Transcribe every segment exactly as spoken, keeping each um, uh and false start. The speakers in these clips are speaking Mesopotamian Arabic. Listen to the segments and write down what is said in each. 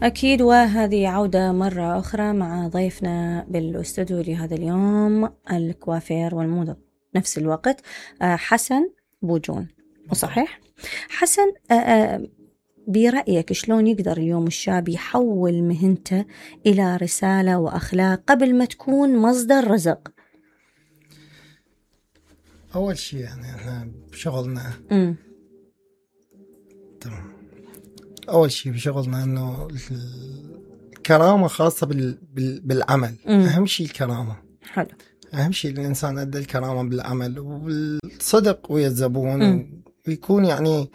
أكيد، وهذه عودة مرة أخرى مع ضيفنا بالاستوديو لهذا اليوم، الكوافير والموضة نفس الوقت، حسن بوجون. وصحيح حسن، برأيك شلون يقدر اليوم الشاب يحول مهنته إلى رسالة وأخلاق قبل ما تكون مصدر رزق؟ أول شيء يعني إحنا بشغلنا م. تمام. أول شيء بشغلنا إنه الكرامة خاصة بال... بال... بالعمل. م. أهم شيء الكرامة. حلو. أهم شيء الإنسان أدى الكرامة بالعمل وبالصدق ويا الزبون، ويكون يعني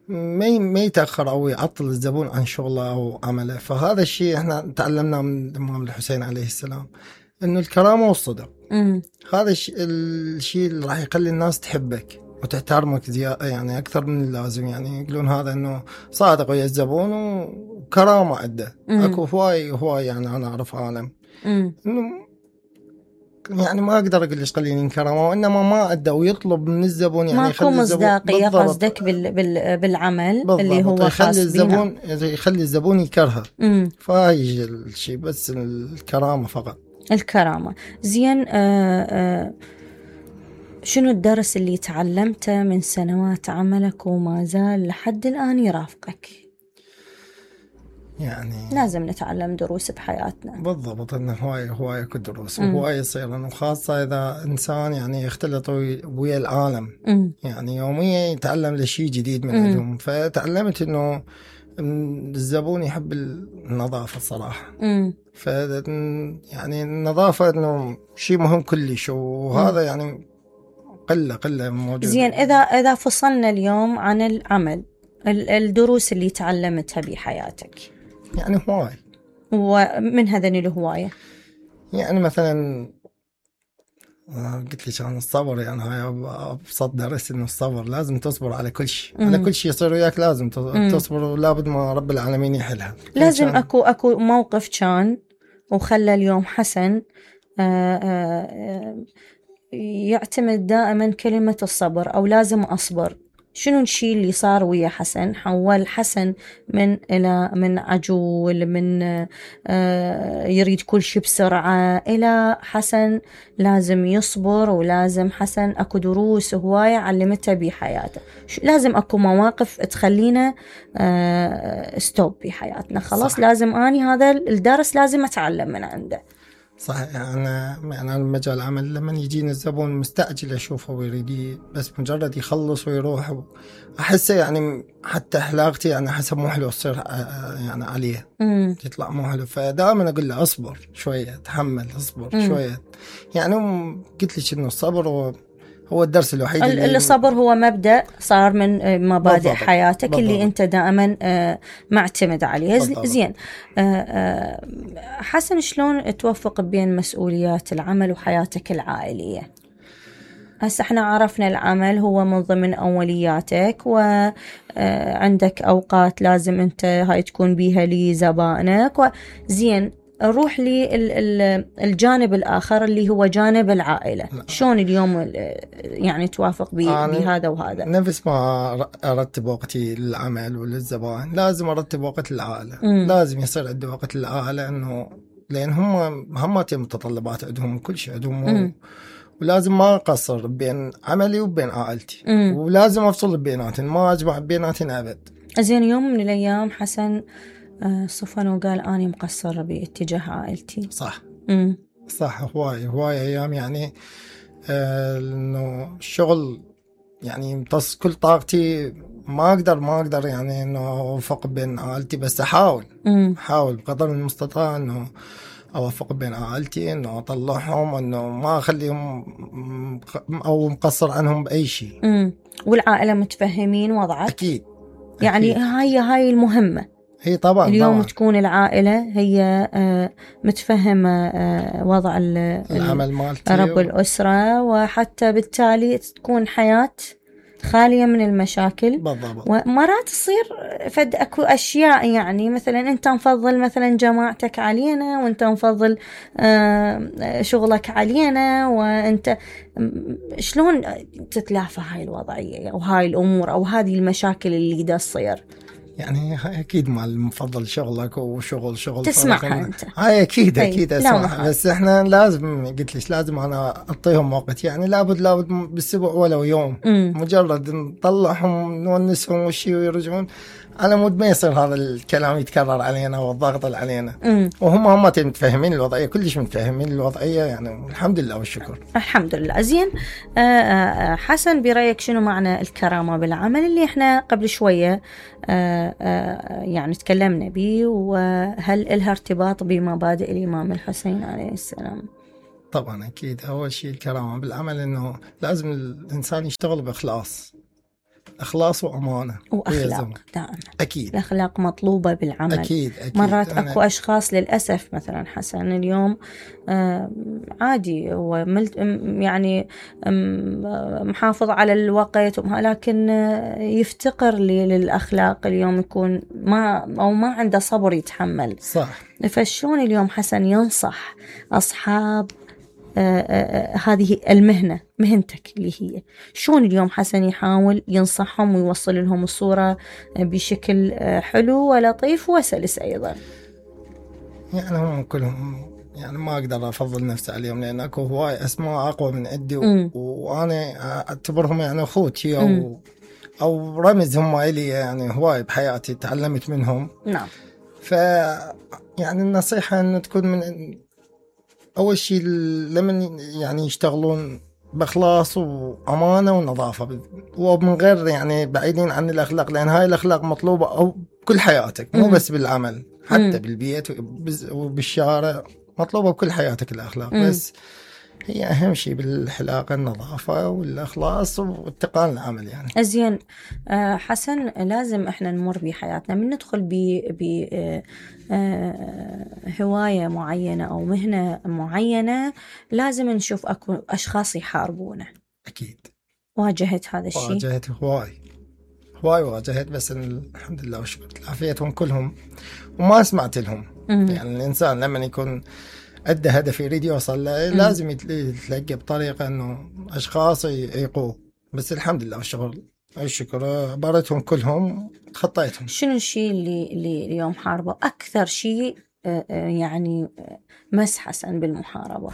ما ما يتأخر أو يعطل الزبون عن شغله أو عمله. فهذا الشيء إحنا تعلمنا من الإمام الحسين عليه السلام، إنه الكرامة والصدق. م. هذا الشيء الشيء اللي راح يخلي الناس تحبك وتحترمك زيادة، يعني أكثر من اللازم. يعني يقولون هذا إنه صادق ويا الزبون وكرامة عنده. أكو هواي هواي يعني أنا أعرف عالم إنه يعني ما أقدر أقول ليش قليلين كرامة، وإنما ما أدى ويطلب من الزبون يعني ماكو مصداقية قصدك بال بال بالعمل بالضبط. اللي هو يخلي الزبون يخلي الزبون يكرهه. فهاي الشيء، بس الكرامة فقط. الكرامة. زين. آآ آآ شنو الدرس اللي تعلمته من سنوات عملك وما زال لحد الآن يرافقك؟ يعني لازم نتعلم دروس بحياتنا. بالضبط، انه هواي هواي اكو دروس وهواي يصير، انه خاصه اذا انسان يعني يختلط ويا العالم. م. يعني يوميا يتعلم لشيء جديد من عندهم. فتعلمت انه الزبون يحب النظافه الصراحه. م. ف يعني النظافه انه شيء مهم كلش، وهذا م. يعني قله قله موجود. زين، اذا اذا فصلنا اليوم عن العمل، الدروس اللي تعلمتها بحياتك يعني هواي، ومن هذين الهواية يعني مثلا قلت لي كان الصبر. يعني هاي أبسط درس، إنه الصبر لازم تصبر على كل شيء. على كل شيء يصير وياك لازم تصبر، ولابد ما رب العالمين يحلها. لازم أكو أكو موقف كان وخلى اليوم حسن آآ آآ يعتمد دائما كلمة الصبر، أو لازم أصبر. شنو الشيء اللي صار ويا حسن حول حسن من إلى من عجول، من آه يريد كل شيء بسرعة، إلى حسن لازم يصبر، ولازم حسن أكو دروس هواية علمتها بحياته. لازم أكو مواقف تخلينا آه ستوب بحياتنا، خلاص صح. لازم أني هذا الدرس لازم أتعلم من عنده. صحيح. أنا يعني مجال العمل لما يجينا الزبون مستعجل أشوفه ويريد بس مجرد يخلص ويروح، أحسه يعني حتى حلاقتي يعني حسب مو حلو تصير يعني عليه مم. تطلع مو حلو. فدائما أقول له أصبر شوية، تحمل، أصبر مم. شوية. يعني قلت لك إنه الصبر هو هو الدرس الوحيد اللي الصبر هو مبدأ صار من مبادئ بالضبط. حياتك بالضبط. اللي أنت دائما معتمد عليه. بالضبط. زين. حسن، شلون توفق بين مسؤوليات العمل وحياتك العائلية؟ هسه احنا عرفنا العمل هو من ضمن أولياتك، وعندك أوقات لازم أنت هاي تكون بيها لزبائنك. زين، نروح للجانب الآخر اللي هو جانب العائلة. شلون اليوم يعني توافق بهذا وهذا؟ نفس ما أرتب وقتي للعمل وللزبائن، لازم أرتب وقت للعائلة. م. لازم يصير عندي وقت للعائلة، إنه لأن هم هم متطلبات عندهم، كل شيء عندهم، ولازم ما أقصر بين عملي وبين عائلتي. م. ولازم أفصل بيناتهم، ما أجمع بيناتهم أبد. زين، يوم من الأيام حسن صفن وقال أنا مقصر باتجاه عائلتي. صح. مم. صح. هواي هواي أيام يعني آه إنه الشغل يعني يمتص كل طاقتي، ما أقدر ما أقدر يعني إنه أوفق بين عائلتي، بس أحاول مم. أحاول بقدر المستطاع إنه أوفق بين عائلتي، إنه أطلعهم، إنه ما أخليهم أو مقصر عنهم بأي شيء. مم. والعائلة متفهمين وضعك؟ أكيد. يعني أكيد. هاي هاي المهمة. هي طبعا اليوم طبعا. تكون العائلة هي متفهمة وضع العمل مالتي رب الأسرة، وحتى بالتالي تكون حياة خالية من المشاكل. بالضبط. ومرات تصير فد أكو أشياء، يعني مثلا أنت مفضل مثلا جماعتك علينا، وأنت مفضل شغلك علينا، وأنت شلون تتلافى هاي الوضعية أو هاي الأمور أو هذه المشاكل اللي دا تصير؟ يعني اكيد مال المفضل شغلك وشغل شغل تسمعها انت. هاي اكيد اكيد أي. اسمعها، بس احنا لازم قلت ليش لازم انا اعطيهم وقت، يعني لابد لابد بالاسبوع ولو يوم. مم. مجرد نطلعهم نونسهم وشي ويرجعون، على مود ما يصير هذا الكلام يتكرر علينا والضغط علينا. مم. وهم هم متفهمين الوضعيه، كلش متفهمين الوضعيه يعني، الحمد لله والشكر. الحمد لله. زين آه حسن، برايك شنو معنى الكرامه بالعمل اللي احنا قبل شويه آه آه يعني تكلمنا به، وهل لها ارتباط بمبادئ الامام الحسين عليه السلام؟ طبعا اكيد. اول شيء الكرامه بالعمل انه لازم الانسان يشتغل باخلاص، اخلاص وامانه واخلاق دائما. اكيد الاخلاق مطلوبه بالعمل. اكيد, أكيد. مرات اكو اشخاص للاسف مثلا حسن اليوم آه عادي هو يعني محافظ على الوقت، لكن يفتقر للاخلاق، اليوم يكون ما او ما عنده صبر يتحمل. صح. فشلون اليوم حسن ينصح اصحاب آه آه هذه المهنة، مهنتك اللي هي، شون اليوم حسن يحاول ينصحهم ويوصل لهم الصورة بشكل آه حلو ولطيف وسلس أيضا؟ يعني هم كلهم يعني ما أقدر أفضل نفسي عليهم، لأن أكو هواي أسماء أقوى من عندي، و... وأنا أعتبرهم يعني أخوتي أو م. أو رمز هم إلي، يعني هواي بحياتي تعلمت منهم. نعم. ف يعني النصيحة أن تكون من أول شيء لمن يعني يشتغلون بإخلاص وأمانة ونظافة، ومن غير يعني بعيدين عن الأخلاق، لأن هاي الأخلاق مطلوبة أو كل حياتك، مو بس بالعمل، حتى مم. بالبيت وبالشارع مطلوبة بكل حياتك الأخلاق. مم. بس هي أهم شيء بالحلاقة النظافة والإخلاص واتقان العمل يعني. أزين حسن، لازم إحنا نمر بحياتنا من ندخل ب هواية معينة أو مهنة معينة، لازم نشوف أكو أشخاص يحاربونه. أكيد. واجهت هذا الشيء؟ واجهت هواي هواي واجهت، بس الحمد لله وشكر عافيتهم كلهم وما سمعت لهم. مم. يعني الإنسان لما يكون عنده هدف يريد يوصل له لازم يتلقى بطريقة أنه أشخاص يقوه، بس الحمد لله والشكر الشكر عبارتهم كلهم تخطيتهم. شنو الشيء اللي اللي اليوم حاربه أكثر شيء يعني مس حسن بالمحاربة؟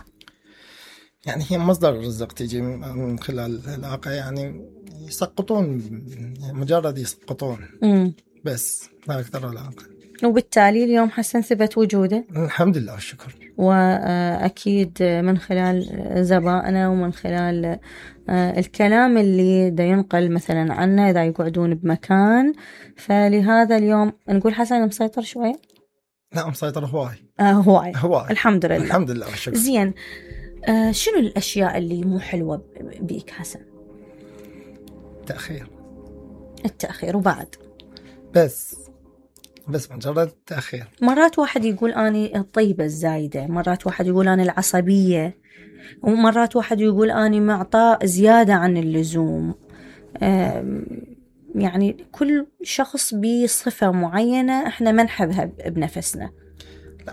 يعني هي مصدر الرزق تيجي من خلال العلاقة، يعني يسقطون مجرد يسقطون. مم. بس لا أكثر ولا أقل. وبالتالي اليوم حسن ثبت وجوده الحمد لله والشكر، وأكيد من خلال زبائنا ومن خلال الكلام اللي دا ينقل مثلا عنا إذا يقعدون بمكان. فلهذا اليوم نقول حسن مسيطر شوي. لا مسيطر هواي. آه هواي. هواي الحمد لله. الحمد لله والشكر. زين آه شنو الأشياء اللي مو حلوة بيك حسن؟ التأخير. التأخير وبعد بس بس مجرد تأخير. مرات واحد يقول أنا الطيبة الزايدة، مرات واحد يقول أنا العصبية، ومرات واحد يقول أنا معطاء زيادة عن اللزوم. يعني كل شخص بصفة معينة احنا ما نحبها بنفسنا.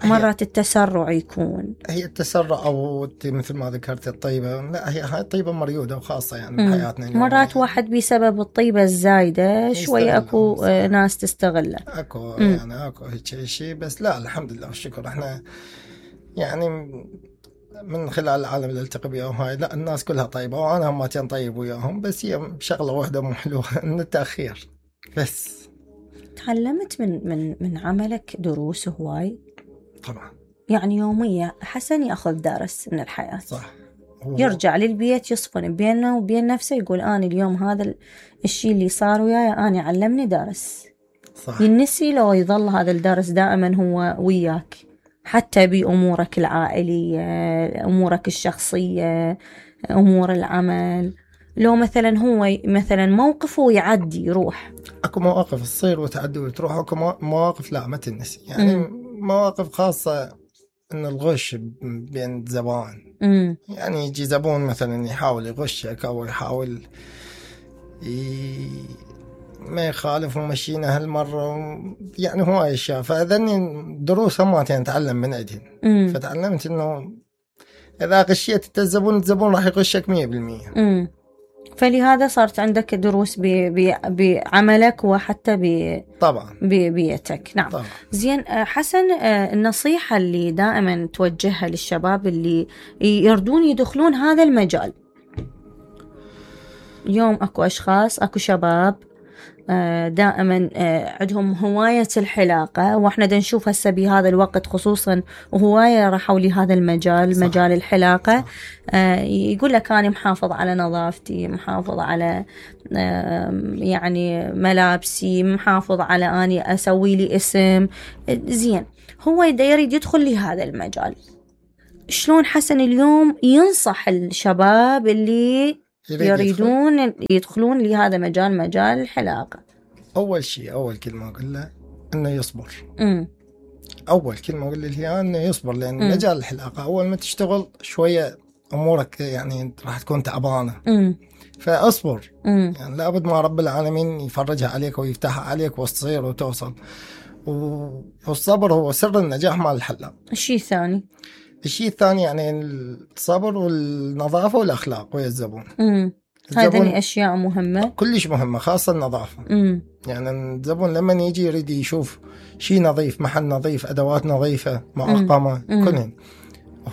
مرات التسرع يكون، هي التسرع أو مثل ما ذكرت الطيبة، لا هي هاي طيبة مريودة وخاصة يعني بحياتنا اليوم. مرات يعني واحد بسبب الطيبة الزايدة شوي أكو صح. ناس تستغله أكو مم. يعني أكو هيك شيء، بس لا الحمد لله والشكر احنا يعني من خلال العالم اللي التقي بيهم هاي لا الناس كلها طيبة، وأنا هم تين طيب وياهم، بس هي شغلة واحدة مو حلوة إن التأخير بس. تعلمت من من من عملك دروس هواي؟ طبعا. يعني يوميا حسن يأخذ درس من الحياة. صح. يرجع للبيت يصفن بينه وبين نفسه يقول أنا اليوم هذا الشيء اللي صار وياي أنا علمني درس. صح. ينسي لو يظل هذا الدرس دائما هو وياك، حتى بأمورك العائلية، أمورك الشخصية، أمور العمل. لو مثلا هو مثلا موقف ويعدي يروح، أكو مواقف تصير وتعدي وتروح، أكو مواقف لا ما تنسي يعني. م. مواقف خاصة إن الغش بين زبائن، يعني يجي زبون مثلا يحاول يغشك أو يحاول ي... ما يخالف ومشينا هالمرة يعني هو أشياء، فأذني دروس ما نتعلم من عندهن. فتعلمت إنه إذا غشيت الزبون الزبون راح يغشك مية بالمية. فلهذا صارت عندك دروس بعملك وحتى ب طبعا ببيتك. نعم طبعا. زين حسن، النصيحة اللي دائما توجهها للشباب اللي يردون يدخلون هذا المجال. اليوم اكو اشخاص، اكو شباب دائما عندهم هواية الحلاقة، واحنا دا نشوف هسه بهذا الوقت خصوصا وهواية راحوا لهذا المجال. صح. مجال الحلاقة. صح. يقول لك أنا محافظ على نظافتي، محافظ على يعني ملابسي، محافظ على أني أسوي لي اسم زين. هو يريد يدخل لهذا المجال. شلون حسن اليوم ينصح الشباب اللي يريدون يدخل. يدخلون لهذا مجال، مجال الحلاقة؟ أول شيء، أول كلمة أقول له إنه يصبر. امم أول كلمة أقول له هي إنه يصبر، لأن مم. مجال الحلاقة أول ما تشتغل شوية أمورك يعني راح تكون تعبانة. امم فأصبر. مم. يعني لابد ما رب العالمين يفرجها عليك ويفتحها عليك وتصير وتوصل. والصبر هو سر النجاح مع الحلاق. الشيء الثاني الشيء الثاني يعني الصبر والنظافة والأخلاق ويا الزبون. امم هذه أشياء مهمة، كلش مهمة، خاصة النظافة. امم يعني الزبون لما يجي يريد يشوف شيء نظيف، محل نظيف، أدوات نظيفة، معقمة، كلهم.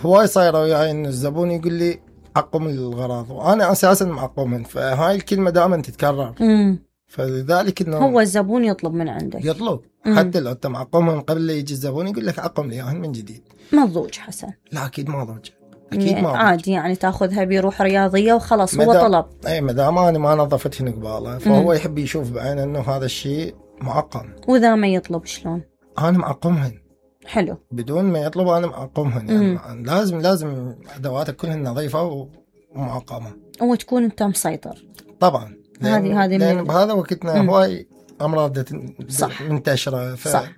هواي صايرة وياي إن الزبون يقول لي عقم الغراض، وأنا أساسا معقمهم، فهاي الكلمة دائما تتكرر. امم فلذلك إنه هو الزبون يطلب من عندك، يطلب. مم. حتى لو أنت معقمهم قبل لا يجي الزبون يقول لك عقم لي من جديد. مضوج حسن؟ لا أكيد مضوج، أكيد ما عادي يعني تاخذها بروح رياضية وخلاص. هو طلب. أي مدام أنا ما نظفت هنا قباله، فهو مم. يحب يشوف بعينه إنه هذا الشيء معقم. وإذا ما يطلب شلون؟ أنا معقمهن. حلو. بدون ما يطلب أنا معقمهن. يعني لازم لازم أدواتك كلها نظيفة ومعقمة، وتكون أنت مسيطر. طبعا. هذه هذه لأن بهذا وقتنا هواي أمراض صح. منتشرة. ف... صح.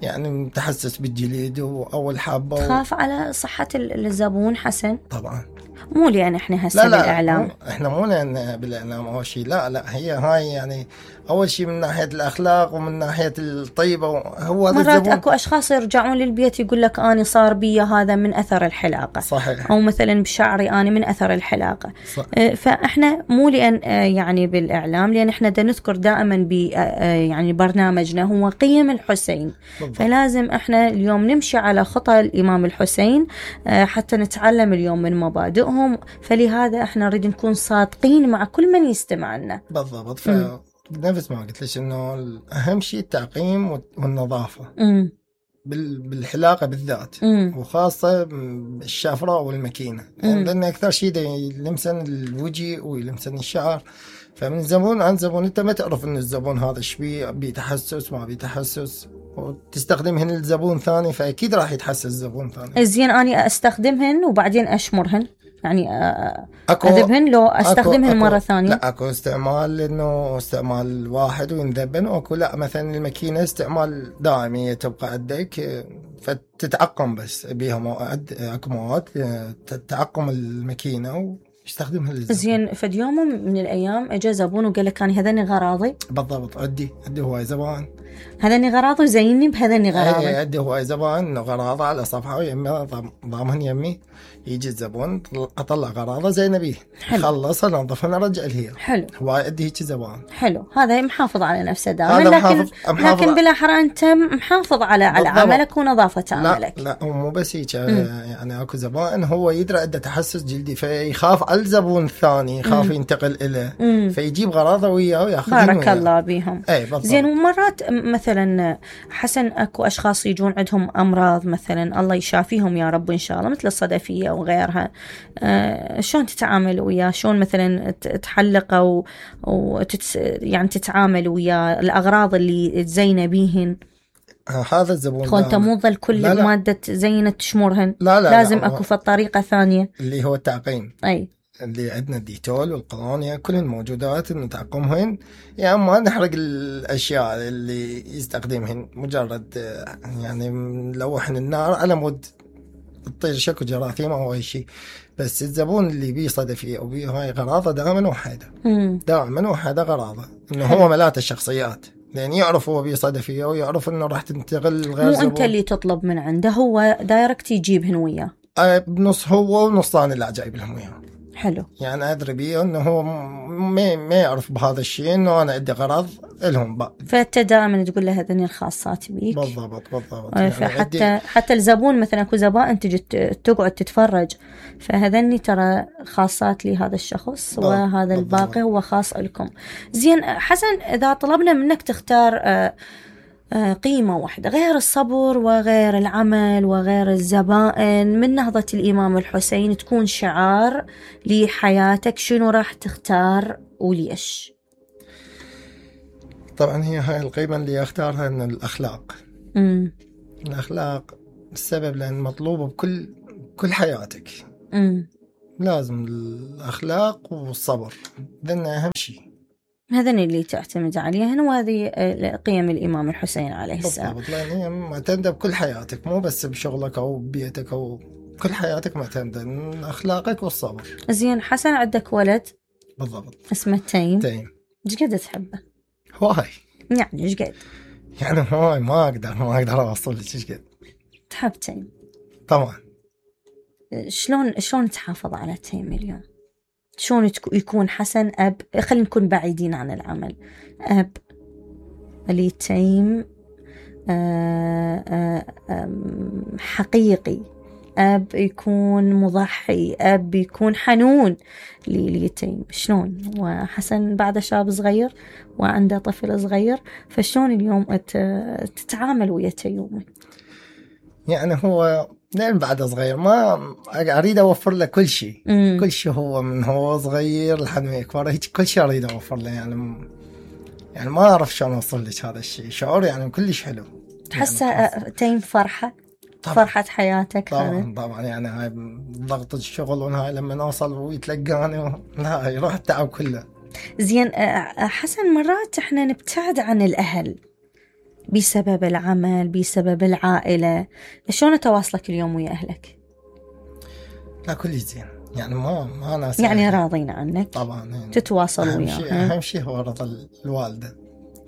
يعني متحسس بالجليد وأول حابة. تخاف و... على صحة الزبون حسن؟ طبعا. مو لأن احنا هسه بالإعلام. مو احنا مو لأن بالإعلام أول شيء، لا لا، هي هاي يعني أول شيء من ناحية الأخلاق ومن ناحية الطيبة. هو هذا مرات الزبون. أكو أشخاص يرجعون للبيت يقول لك أنا صار بي هذا من أثر الحلاقة. صحيح. أو مثلا بشعري أنا من أثر الحلاقة. صح. فإحنا مو لأن يعني بالإعلام، لأن إحنا دا نذكر دائما ب يعني برنامجنا هو قيم الحسين. بالضبط. فلازم إحنا اليوم نمشي على خطى الإمام الحسين حتى نتعلم اليوم من مبادئهم. فلهذا إحنا نريد نكون صادقين مع كل من يستمع لنا. بالضبط. ف نفس ما قلت لك إنه أهم شيء التعقيم والنظافة. امم بالحلاقة بالذات. مم. وخاصة الشافراء والماكينة، يعني لأن أكثر شيء يلمسن الوجه ويلمسن الشعر. فمن زبون عن زبون أنت ما تعرف إن الزبون هذا شبيه، بيتحسس ما بيتحسس، وتستخدمهن الزبون ثاني فأكيد راح يتحسس زبون ثاني. زين أنا أستخدمهن وبعدين أشمرهن، يعني أذبهن لو أستخدمهن أكو مرة ثانية؟ لا أكو استعمال إنه استعمال واحد وينذبن، وأكو لا مثلا الماكينة استعمال دائمي تبقى عندك فتتعقم بس بيها مواد. أكو مواد تتعقم الماكينة ويستخدمها للزبون. زين فد يوم من الأيام أجا زبون وقال لك أنا هذني غراضي. بالضبط. عدي عدي هواي زبان هذني غراضي وزيني بهذني غراضي. اي عدي هواي زبان غراضه على صفحه ويمي ضامن يمي. يجي الزبون اطلع غراضه زي نبيه، خلص انظفها نرجع لهي. حلو. هواي عدي هيك زبان. حلو. هذا محافظ على نفسه دائما. لكن محافظ محافظ لكن بالاحرى انت محافظ على على عملك ونظافه عملك. لا لا مو بس هيك. يعني اكو زبائن هو يدري عنده تحسس جلدي فيخاف على الزبون الثاني، يخاف ينتقل له فيجيب غراضه وياه وياخذها. بارك الله بيهم. اي بالضبط. زين ومرات مثلا حسن اكو اشخاص يجون عندهم امراض مثلا الله يشافيهم يا رب ان شاء الله، مثل الصدفيه وغيرها. آه شلون تتعامل وياه؟ شلون مثلا تحلقه و... وتت... يعني تتعامل وياه الاغراض اللي تزينه بيهن؟ هذا الزبون خو انت مو ظل كل الماده زينه تشمرهن. لا لا لازم لا اكو طريقه ثانيه اللي هو التعقيم. اي اللي عندنا الديتول والقلونيا كلهن موجودات نتعقمهن، يعني ما نحرق الاشياء اللي يستخدمهن، مجرد يعني نلوحن النار على مود تطير شكو جراثيم او اي شيء. بس الزبون اللي بيه صدفيه او بيه هاي غراضه دائما وحده، دائما وحده غراضه انه هو ملاته الشخصيات، لأن يعرف هو بيه صدفيه ويعرف انه راح تنتقل غير مو زبون. انت اللي تطلب من عنده، هو دايركت يجيبهن وياه. بنص هو ونص ثاني اللي جايب لهم وياه. حلو. يعني ادري بيه انه هو ما ما يعرف بهذا الشيء، انه انا عندي غرض لهم بقى. فانت دائما تقول له هذني الخاصات بيك. بالضبط بالضبط. يعني فحتى عندي... حتى الزبون مثلا اكو زبائن تجي تقعد تتفرج، فهذني ترى خاصات لهذا الشخص وهذا الباقي هو خاص لكم. زين حسن، اذا طلبنا منك تختار آه قيمة واحدة غير الصبر وغير العمل وغير الزبائن من نهضة الإمام الحسين تكون شعار لحياتك، شنو راح تختار وليش؟ طبعا هي هاي القيمة اللي اختارها ان الأخلاق. مم. الأخلاق السبب لأن مطلوبة بكل كل حياتك. مم. لازم الأخلاق والصبر، ذن أهم شيء. هذين اللي تعتمد عليهن، وهذه قيم الإمام الحسين عليه السلام. بالضبط، لأن هي معتمدة بكل حياتك، مو بس بشغلك أو ببيتك أو كل حياتك معتمدة أخلاقك والصبر. زين حسن، عندك ولد بالضبط اسمه تيم. تيم. ايش قد تحبه؟ هواي. يعني ايش قد؟ يعني هواي ما أقدر ما أقدر أوصل لك ايش قد. تحب تيم طبعا. شلون شلون تحافظ على تيم اليوم؟ شلون يكون حسن أب؟ خلينا نكون بعيدين عن العمل. أب لتيم حقيقي، أب يكون مضحي، أب يكون حنون لتيم. شلون وحسن بعد شاب صغير وعنده طفل صغير، فشلون اليوم تتعامل ويا تيومي؟ يعني هو لين بعد صغير ما أريد أوفر له كل شيء. مم. كل شيء هو من هو صغير لحد ما يكبر هيك كل شيء أريد أوفر له. يعني يعني ما أعرف شلون أوصل لك هذا الشيء. شعور يعني كلش حلو. تحسه يعني تيم فرحة طبعًا. فرحة حياتك. طبعا طبعا. يعني هاي ضغط الشغل وهاي لما نوصل ويتلقاني و... لا يروح التعب كله. زين حسن، مرات احنا نبتعد عن الأهل بسبب العمل بسبب العائلة، شلون تواصلك اليوم ويا أهلك؟ لا كل زين، يعني ما ما ناس يعني راضين عنك طبعا. يعني تتواصل وياه. شيء أهم شيء هو رضا الوالدة،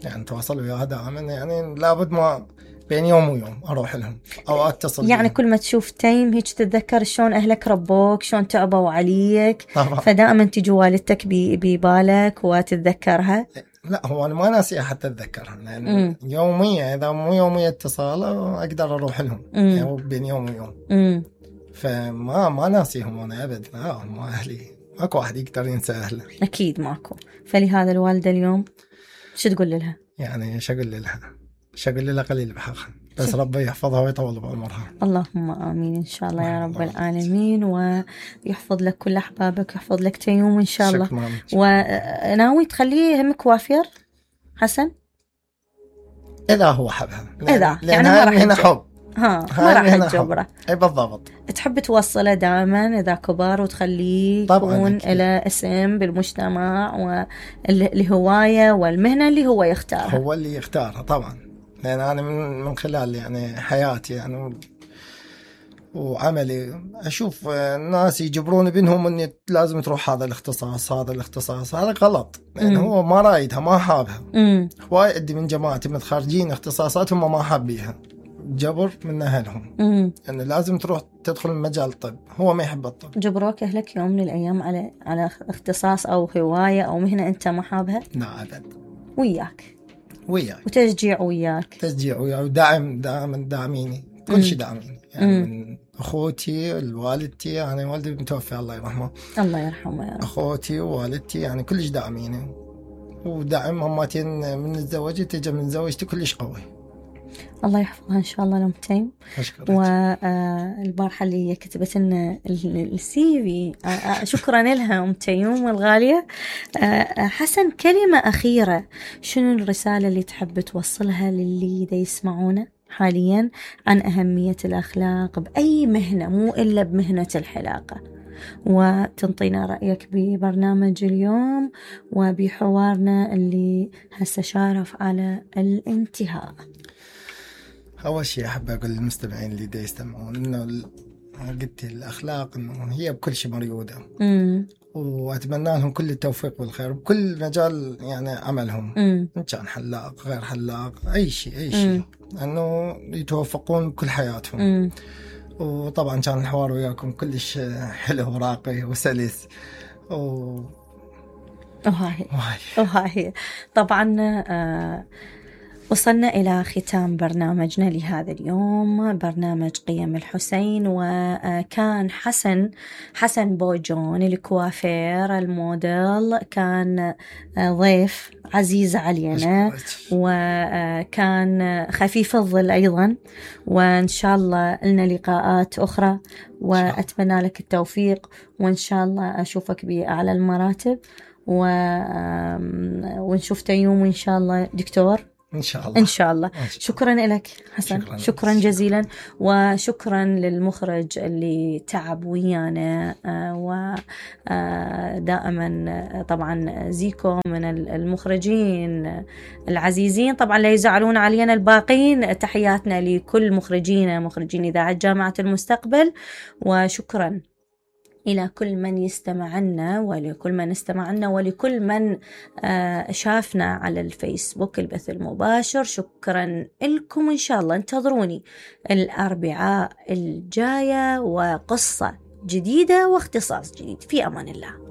يعني تواصل وياها دائما. يعني لابد ما بين يوم ويوم أروح لهم أو أتصل يعني بهم. كل ما تشوف تيم هيك تتذكر شلون أهلك ربوك، شلون تعبوا عليك. طبعا. فدائما تجي والدتك ببالك وتتذكرها. لا هو أنا ما ناسي حتى أتذكرها، يعني يوميا إذا مو يوميا اتصال أقدر أروح لهم. يعني بين يوم ويوم. مم. فما ما ناسيهم أنا أبد. لا هم أهلي، ماكو واحد يقدر ينسى أهله. أكيد ماكو. فلهذا الوالدة اليوم شو تقول لها؟ يعني شو أقول لها؟ شو أقول لها قليل بحقها، بس ربي يحفظها ويطول بعمرها. اللهم آمين إن شاء الله يا رب العالمين، ويحفظ لك كل أحبابك ويحفظ لك تيوم إن شاء الله. وناوي تخليه هم كوافير حسن؟ إذا هو حبها. إذا يعني ما راح هنا حب. ها ما راح تجبره. أي بالضبط. تحب توصله دائما إذا كبر وتخليه يكون له اسم بالمجتمع والهواية والمهنة اللي هو يختارها. هو اللي يختارها طبعا. لأن أنا من من خلال يعني حياتي يعني وعملي أشوف الناس يجبرون بينهم إني لازم تروح هذا الاختصاص هذا الاختصاص. هذا غلط، لأن هو ما رايدها ما حابها. هواي عندي من جماعتي متخرجين اختصاصاتهم ما حابيها، جبر من أهلهم إنه يعني لازم تروح تدخل مجال الطب. هو ما يحب الطب. جبروك أهلك يوم من الأيام على على اختصاص أو هواية أو مهنة أنت ما حابها؟ لا أبد. وياك وياك وتشجيع وياك تشجيع وياك ودعم دائما داعميني كل شيء داعميني. يعني مم. من أخوتي الوالدتي، يعني والدي متوفي الله يرحمه. الله يرحمه يا رب. أخوتي ووالدتي يعني كلش داعميني، ودعم ماماتين من الزواج تجي من زوجتي كلش قوي. الله يحفظها إن شاء الله لأم تيم. والبارحة اللي هي كتبت لنا السي في، شكرا لها أم تيوم الغالية. حسن، كلمة أخيرة، شنو الرسالة اللي تحب توصلها للي دا يسمعونا حاليا عن أهمية الأخلاق بأي مهنة مو إلا بمهنة الحلاقة، وتنطينا رأيك ببرنامج اليوم وبحوارنا اللي هسه شارف على الانتهاء؟ أول شيء أحب أقول للمستمعين اللي دا يستمعون إنه قلت الأخلاق إنه هي بكل شيء مريودة، وأتمنى لهم كل التوفيق والخير بكل مجال يعني عملهم. مم. إن كان حلاق غير حلاق أي شيء أي شيء، إنه يتوفقون بكل حياتهم. مم. وطبعا كان الحوار وياكم كلش حلو وراقي وسلس، و... وهاي وهاي طبعا آه وصلنا إلى ختام برنامجنا لهذا اليوم، برنامج قيم الحسين. وكان حسن حسن بوجون الكوافير الموديل كان ضيف عزيز علينا، وكان خفيف الظل أيضا، وإن شاء الله لنا لقاءات أخرى، وأتمنى لك التوفيق، وإن شاء الله أشوفك بأعلى المراتب، ونشوف يوم إن شاء الله دكتور إن شاء الله. إن شاء الله. شكرا لك حسن، شكرا, شكرا جزيلا، وشكرا للمخرج اللي تعب ويانا، ودائما طبعا زيكو من المخرجين العزيزين، طبعا لا يزعلون علينا الباقين. تحياتنا لكل مخرجين مخرجين إذاعة جامعة المستقبل، وشكرا إلى كل من يستمعنا، ولكل من استمعنا، ولكل من شافنا على الفيسبوك البث المباشر. شكرا لكم، إن شاء الله انتظروني الأربعاء الجاية وقصة جديدة واختصاص جديد. في أمان الله.